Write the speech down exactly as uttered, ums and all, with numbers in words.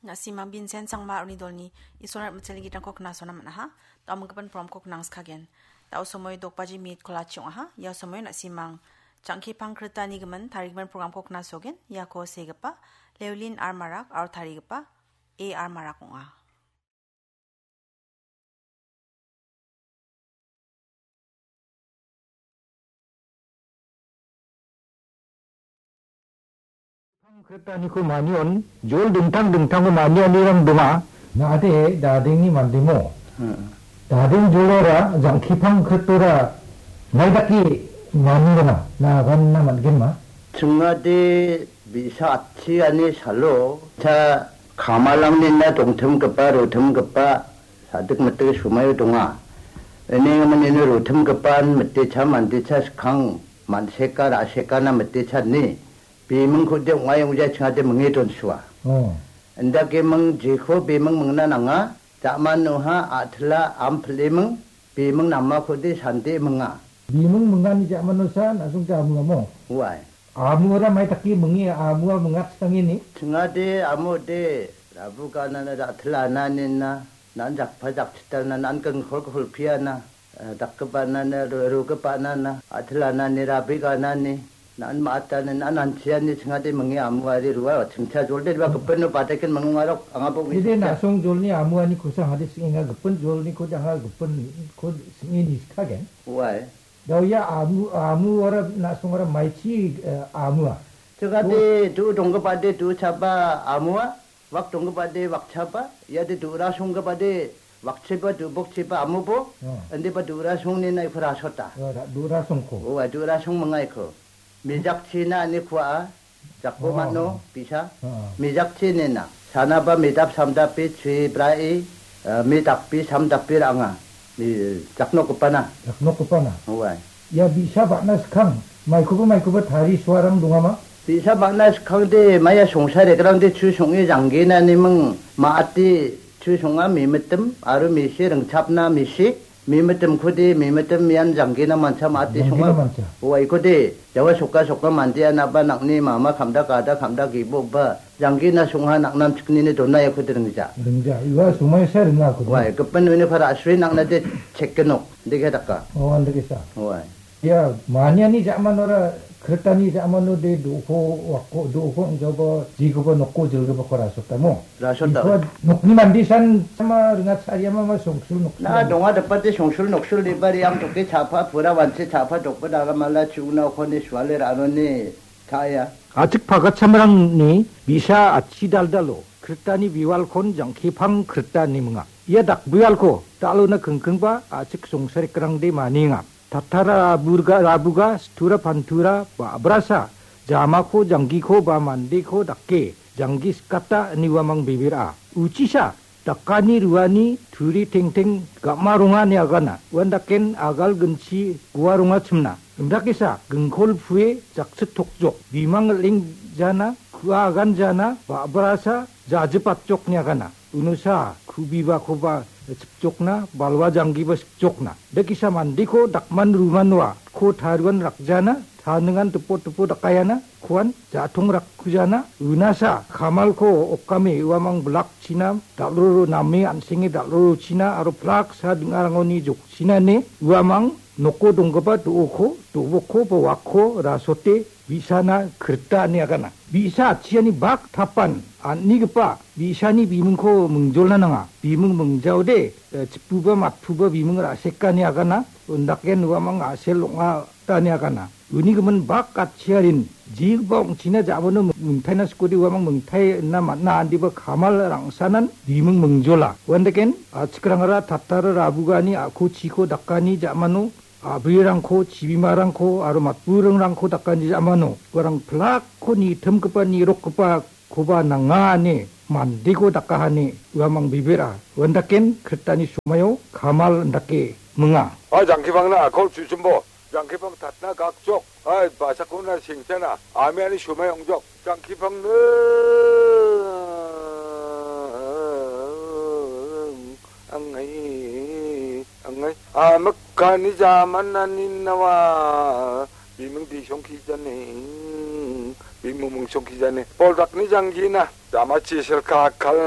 Na·simang Vincent Sangma aro uni dolni Isolni mitchilni gitrangko knasona man·aha. Da·omgipa programko knangskagen. Da·o somoi dokbaji minit kolachi ong·aha. Ia somoi na·simang Jangkipang Kritani gimin tarigimin programko knasogen. Iako segipa Leolin R Marak aro tarigipa A R Marak ong·a. Kritaniko manion jol dingtang dingtango manianirang donga. Na·ade dadengni mandemo. Hmm. Dadeng jolora jangkipang kritora maidake maniranga. Na ganna man·genma. Chingade bi·sa atchiani salo ta kamalangnina dongtimgipa, rotimgipa, sadik mitik somaio donga. Ini menino rotimgipan mitecha mandecha skang manseka ra·sekana mitecha ni. Bimingkode ong·ai ong·jai chingade minge donsua. Oh. Indake ming jeko biming mingna nanga, jamanoha atla am pliming, biming namakode sande minga. Biming mingani jamanosa nasung jamingamo. Uai. Amuara maitaki mingi amua mingat sangini. Chingade amode rabu kanana atla ananina. Nan jakpa jakchitalna, nan kengkol kolpiana, eh, dakgipanana, ru-, rugipanana, atilanani, rabiganani, nan ma·atani, nan anchiani chingade mingi amuari rua, chingcha jolde rua gipino batekin mingungarok, angabo. Ide na·song jolni amuani kosa hade singenga gipin jolni kode anga gipin kode singe niskagen. Uai. Dauya amu, amuara na·songara maichi, eh, amua. Chingade du donggipade du chaba amua. Wak donggipade wakchaba, iade du·ra songgipade wakchiba, du·bokchiba amobo, oh. Indiba du·ra songnina iko rasota. Oh, ra-, du·ra songko. Oh, du·ra song mangaiko. Mijakchina ani kua, jakbo oh, mano, oh. Bisa. Oh. Mijakchinina. Sanaba midap samdapi, chui brai, eh, midakpi samdapi ranga. Mi-, jaknokgipana. Jaknokgipana. Owai. Ia bi·sa bang·na skang, maikoba maikoba tari suarang dongama? Bi·sa bang·na skangde, maia songsaregrangde chu song·e janggenaniming ma·ate chu song·a mimitim, aro misi ringchapna misi, mimitimkode, mimitim ian janggena mancha ma·ate song·a. Janggena mancha. Owaikode, jawa soka soka mandeanaba nang·ni mama kamda gada kamda geboba, janggena song·a nang·namchiknini donaiakode ringja. Ringja, ua somaisa ringakode. Wai, gipin uni para asri nang·nade chekgenok. Deke daka. Oh, andake sa. Owai. Ia, maniani ja·manora, kritani ja·mano de do·oko, wako, do·oko ong·jaoba, jikoba noko jilgipako rasotamo. Rasota. Iko nokni mandesan sama ringat sariama ma songsul noksul. Na, donga dapate songsul noksul debari ang toke chapa, pura wanse chapa, dokba dagamala, chuna okoni suale ranoni, taya. Achik pagatsamrangni bisa achi daldalo, kritani biwalkon jangkipang krita niminga. Ia dakbialko, dalona kingkingba achik songsarekrangde maninga. Tatara burga rabuga, stura pantura, ba·brasa, jamako, janggiko, ba mandeko dake, janggi skata, iniwamang bebera. Uchisa, dakani ruani turi tengteng gam·a rongani agana. Uandaken agal ginchi gua rongachimna. Indakesa gingkol pue jakchit tokjok. Bimang el·eng jana, kua agan jana, ba·brasa jajipatjokni agana. Unosa kubibakoba chipjokna, balwa janggiba sikjokna. Dakesa mandeko dakman ruman wa, ko taruan rakjana, taningan tipo tipo dakayana, kuan ja·tong rakkujana, unasa kamalko okame uamang blakchina, dal·roro name an·senge dal·rorochina, aro plaksa ding·arangoni jokchina ine uamang noko donggipa do·oko, do·boko ba wakko rasote bi·sana krita ine agana. Bi·sa atchiani bak tapan an·nigipa bi·sani bimingko mingjolna nanga. Biming mingjaode, eh, chipuba matpuba biming ra·sekani agana, undaken uamang a·sel ong·a tani agana. Uni gimin bak atchiarin, jigipa ong·china ja·mano mingtaina skode uamang mingtaina man·a indiba kamal rangsanan biming mingjola. Uandeken, a·chikrangara tatara rabugani a·ko chiko dakani ja·mano, a·brirangko, chibimarangko aro matburingrangko dakani ja·mano uarang plakko nitimgipa, nirokgipa koba nanga ine mandeko dakahani uamang bibera. Uandaken kritani somaio kamal indake minga. A jangkipangna akol chuchumbo, jangkipang tatna gakjok, a basakona sengchana, amiani somai ongjok, jangkipangna angai, angai, amikani jamanani nawa, biming disong kijaning, bimung mungchongkijani. Bol dakni janggina, jamachi silka kal.